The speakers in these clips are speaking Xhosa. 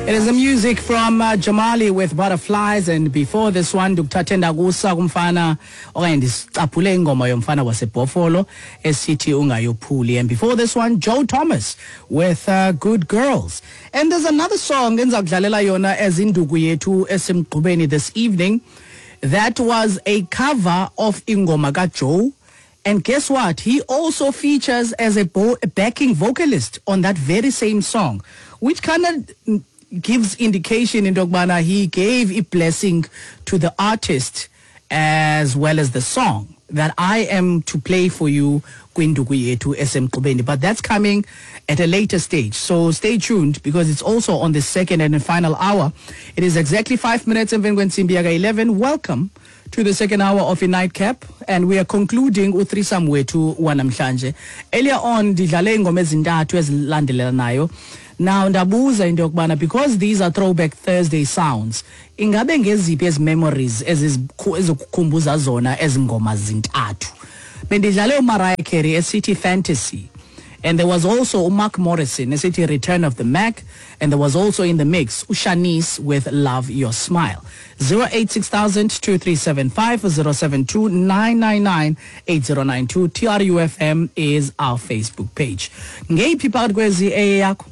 It is the music from Jamali with Butterflies, and before this one ndikuthathe ndakusa kumfana okanye ndisicaphule ingoma yomfana waseBhofolo esithi ungayophuli, and before this one Joe Thomas with Good Girls. And there's another song endiza kudlalela yona as induku yethu esemgqubeni this evening that was a cover of ingoma kaJoe. And guess what? He also features as a backing vocalist on that very same song, which kind of gives indication into yokubana he gave a blessing to the artist as well as the song that I am to play for you kwinduku yethu esemgqubeni. But that's coming at a later stage, so stay tuned because it's also on the second and final hour. It is exactly 5 minutes emveni kwentsimbi yaka-11. Welcome to the second hour of a nightcap, and we are concluding uthreesome wethu wanamhlanje. Earlier on ndidlale ingoma ezintathu ezilandelelanayo. Now ndabuza into yokubana because these are Throwback Thursday sounds, ingabe ngeziphi ezi memories ezikukhumbuza zona ezi ngoma zintathu? Bendidlale uMariah Carey esithi Fantasy, and there was also uMark Morrison esithi Return of the Mac, and there was also in the mix uShanice with Love Your Smile. 086 2375 072 999 8092. TRUFM is our Facebook page. Ngeyiphi phakathi kwezi eyakho?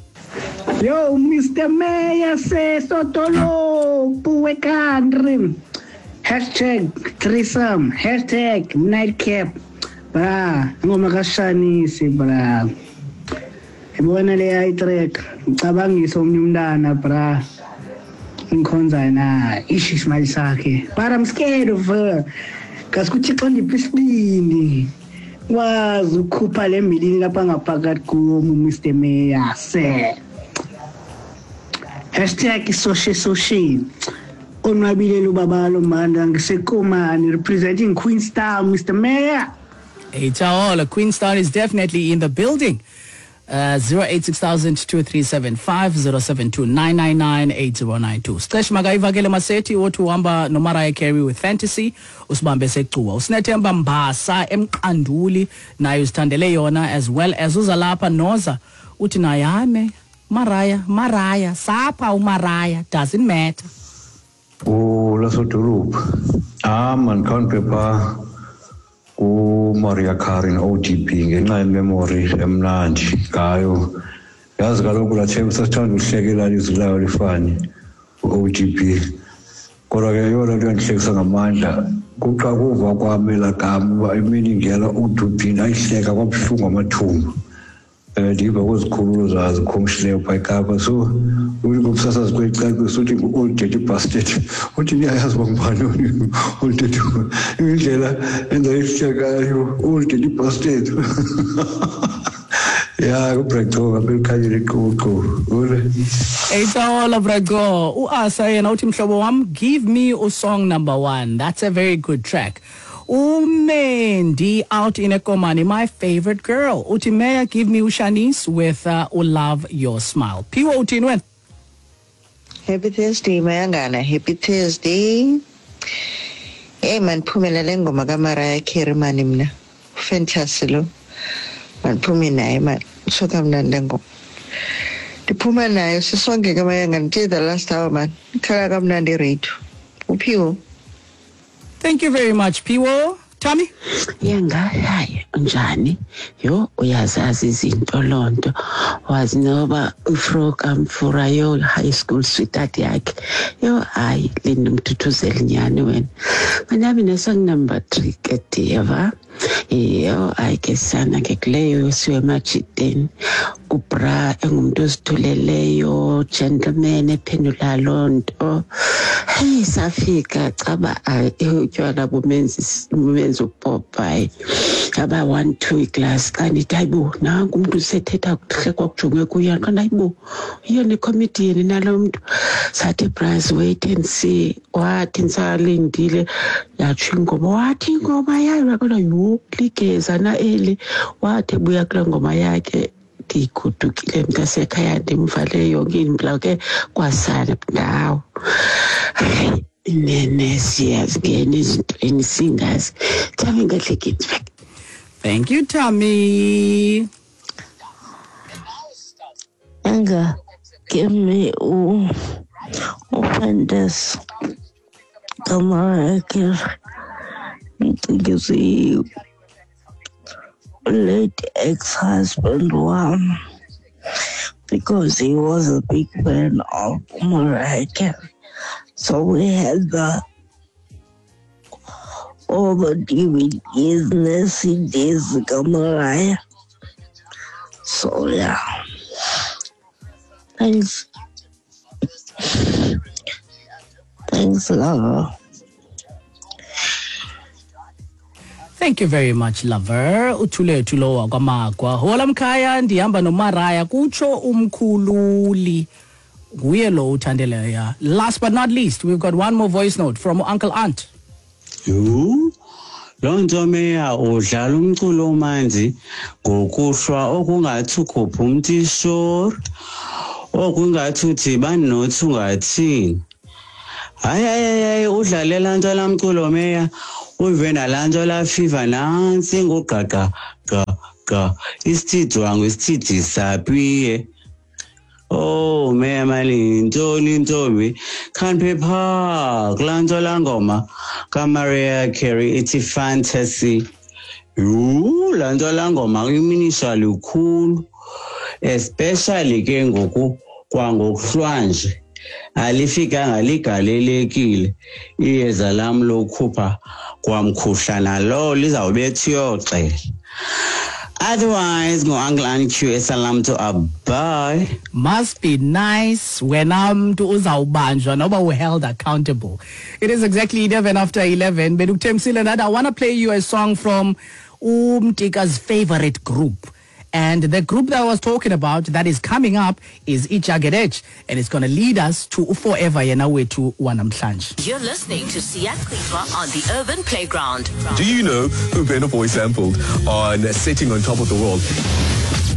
Yo, Mr. Mayor sesodolophu we-country. #threesome, #nightcap. Bra, ingoma kaShanisi bra. Ibona leya itrack, ngicabangisa omnye umntana bra. Ngikhonza na ish isimali sakhe. But I'm scared of her. Kasi kuThixo ndiphe isibindi. Wazi ukukhupha le milini lapha ngaphakathi kum, Mr. Mayor se. #SosheSoshe. Onwabile lubabalo manda ngisekomani representing Queenstown, Mr. Mayor. Hey, Taola, Queenstown is definitely in the building. 086 2375 072 999 8092. Sixesha makayivakele Masethi othi uhamba noMariah Carey with Fantasy, usibambe secuwa. Usinethemba Mbasa emqanduli naye uzithandele yona, as well as uzalapha Noza uthi naye hayi Mariah, Mariah sapha uMariah, doesn't matter. Ulasodolophu. Ah man, khawundiphe phaa kuMariah Carey no-ODB ngenxa yememory emnandi ngayo. Yazi kaloku laa thembu sasithanda uhlekela ilizwi layo lifani u-ODB. Kodwa ke eyona nto yandihlekisa ngamandla kuxa kuva kwam elaa gama uba imini ngela ODB, ndayihleka kwabuhlungu amathumba. Ndiva kwezikhululo zazikhumshileyo phaa eKapa. So uthi ngumsasazi kwecacisa uthi ngu-old dirty bastard. Uthi niyayazi uba ngubani old dirty, indlela endayihlekayo, old dirty bastard. Ya, kuBraco apha ekhanyeni iqubuqubu. Ule. Eyitsawola Braco, uAsa yena uthi mhlobo wam, give me usong number 1. That's a very good track. Umendi out in Ekomani, my favorite girl. Uthi Mayor, give me uShanice with Love Your Smile. Phiwo uthini wena? Happy Thursday, Mayangana. Happy Thursday. Hey man, phumela le ngoma kaMariah Carey mani mna. Fantasy lo. Mandiphume naye man. Tsho kamnandi le ngoma. Ndiphuma nayo sisonke ke Mayangana till the last hour man. Ikhala kamnandi iradio. Uphiwo. Thank you very much, Phiwo. Tommy? Yanga, hayi, unjani? Yo, uyazazi izinto loo nto. Wazi noba ufro kamfura yo high school sweetheart yakhe. Yo, hayi, Linda umthuthuzeli nyani wena. Manami ne-song number 3 ke diyeva. Yo, hayi ke sana ke kuleyo yosiwe emajiteni. Ubra engumuntu ozithuleleyo, gentleman ephendula loo nto. Hey, safika caba utywala bumenza upopayi. Aba 1 2 class xa ndithi hayibo nanku umntu usethetha kuhlekwa kujongwe kuye kanti hayibo yiyo ne-comedian nalo mntu. Sathi bras wait and see. Wathi ndisalindile yatsho ingoma, wathi ingoma yayo kodwa yho ligeza na eli. Wathi ebuya kulaa ngoma yakhe ndigodukile mntasekhaya ndimvale yonke indlu ke kwasana ndawo. Hayi inene siyazingena ezintweni singazi. Thami ngadlekeni. Thank you, Tommy. Anga, Give me uFantasy kaMariah Carey. Ndicingise late ex-husband wam because he was a big fan of Mariah Carey. So we had the all the DVDs and the CDs kaMariah. So yeah. Thanks. Thanks, lover. Thank you very much, lover. Uthulethu lo wakwaMagwa. Hola mkhaya, ndihamba noMaraya kutsho umkhululi. Nguye lo uthandeleyo. Last but not least, we've got one more voice note from Uncle Aunt. Yhu, loo nto meya udlala umculo omanzi ngokuhlwa okungathi ukhupha umtishori, okungathi udibani nothi ungathini. Hayi, hayi, hayi, udlale laa nto laa mculo meya, uve nalaa nto laa fiva nantsi ngugqaqa gqa gqa, isithidwangu isithidi sapiye. Oh, meya mani, yintoni ntombi? Khanphe phaa kulaa nto laa ngoma kaMariah Carey ithi Fantasy. Yhu, laa nto laa ngoma iminisha lukhulu, especially ke ngoku kwangokuhlwanje. Alifikanga ligalelekile iyeza lam lokukhupha kwamkhuhlana lowo lizawubetha uyoxela. Otherwise, ngo-Uncle Anq esalam to bye. Must be nice wena mntu uzawubanjwa noba u-held accountable. It is exactly 11 after 11. Bendikuthembisile that I want to play you a song from Umtika's favorite group. And the group that I was talking about that is coming up is Ijagged Edge, and it's going to lead us to Forever yena wethu wanamhlanje. You're listening to Siyachithwa on the Urban Playground. Do you know who Burna Boy sampled on Sitting on Top of the World?